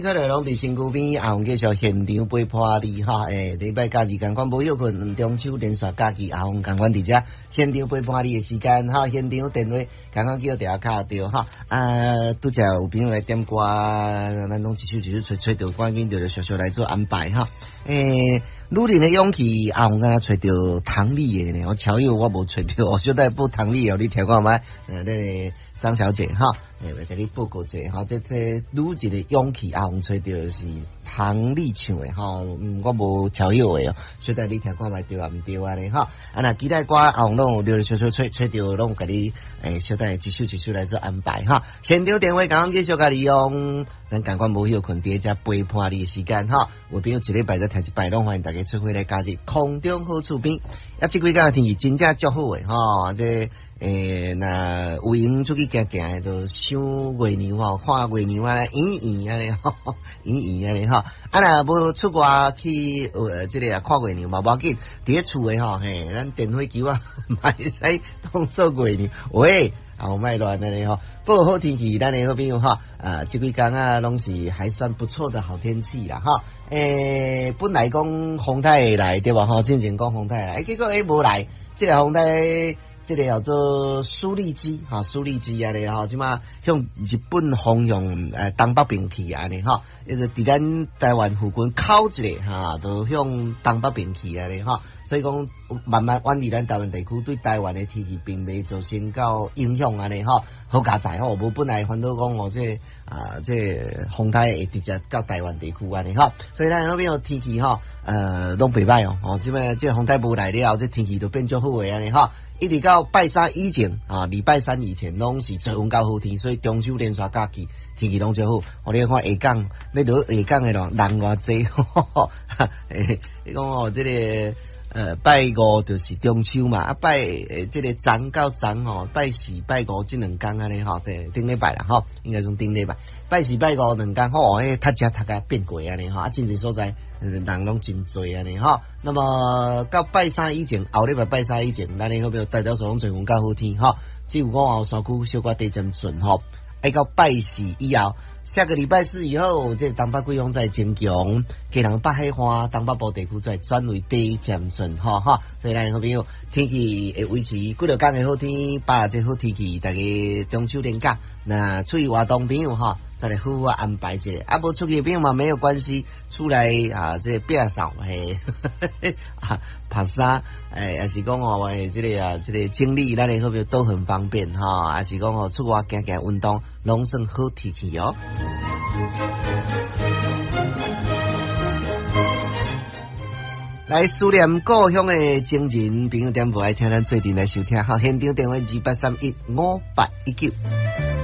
可能攏佇身軀邊，阿鳳繼續現場陪伴你哈。禮拜假日仝款無歇睏，中秋連續假期，阿鳳仝款佇遮現場陪伴你的時間哈。現場電話仝款叫電話敲著哈。啊，拄才有朋友來點歌，咱攏一首一首揣揣著，趕緊著小小來做安排哈。女人的勇氣，阿鳳敢若揣著唐麗的呢，我喬友我無揣著，我小等報唐麗的，你聽看覓？那個張小姐哈，來共你報告者哈，這女人的勇氣，阿鳳揣著是唐麗唱的吼，我無喬友的哦，小等你聽看覓對啊毋對按呢吼？啊，若其他歌阿鳳攏有陸陸續續揣揣著，攏有共你小等一首一首來做安排哈。現場電話仝款繼續共利用，咱仝款無歇睏佇遮陪伴你的時間哈。有朋友一禮拜才聽一擺，攏歡迎大家做伙來加入空中好厝邊。啊，這幾工天氣真正足好的吼，這若有閒出去行行的，就賞月娘吼，看月娘按呢圓圓按呢吼，圓圓按呢吼。啊，若無出外去這個啊看月娘嘛無要緊，佇咧厝的吼，嘿，咱電火球仔嘛會使當做月娘。喂，啊，莫亂按呢吼。不過好天氣，咱的好朋友哈，啊，這幾工啊，攏是還算不錯的好天氣啦，哈。本來講風台會來對無吼？之前講風台會來，結果無來，這個風台。這個叫做舒力基，哈，舒力基按呢吼，這馬向日本方向東北邊去按呢吼，一直佇咱台灣附近靠一下哈，都向東北邊去按呢吼，所以講慢慢遠離咱台灣地區，對台灣的天氣並袂造成到影響按呢吼，好佳哉吼，無本來煩惱講哦，這個啊，這個風台會直接到台灣地區按呢吼，所以咱那邊天氣吼，攏袂䆀哦，哦，這擺這個風台無來了，這天氣就變足好的按呢吼。一直到拜三以前啊，禮拜三以前攏是多雲到好天，所以中秋連續假期天氣攏足好。我你看下港欲落下港的人人偌濟，你講哦，這個拜五就是中秋嘛，啊拜這個昨到昨吼，拜四拜五這兩工按呢吼，對，頂禮拜啦吼，應該講頂禮拜，拜四拜五兩工吼，彼塞車塞甲變過按呢吼，啊真濟所在人攏真濟按呢吼。那麼到拜三以前，後禮拜拜三以前，咱的好朋友大多數攏多雲到好天吼，只有午後山區小可低漸順吼。愛到拜四以後，下個禮拜四以後，這個東北季風再增強，基隆北海岸、東北部地區再轉為低漸順吼哈。所以咱好朋友天氣會維持幾落工的好天，把握這好天氣，大家中秋連假，那出去活動朋友哈，再來好好安排一下。啊，無出去的朋友嘛沒有關係，出來啊，這個摒掃嘿，啊，拍沙，抑是講哦，這個啊，這個整理，咱的好朋友都很方便哈。抑是講哦，出外行行運動，攏算好天氣哦。來思念故鄉的情人，朋友點播愛聽咱做陣來收聽，好，現場電話28315819。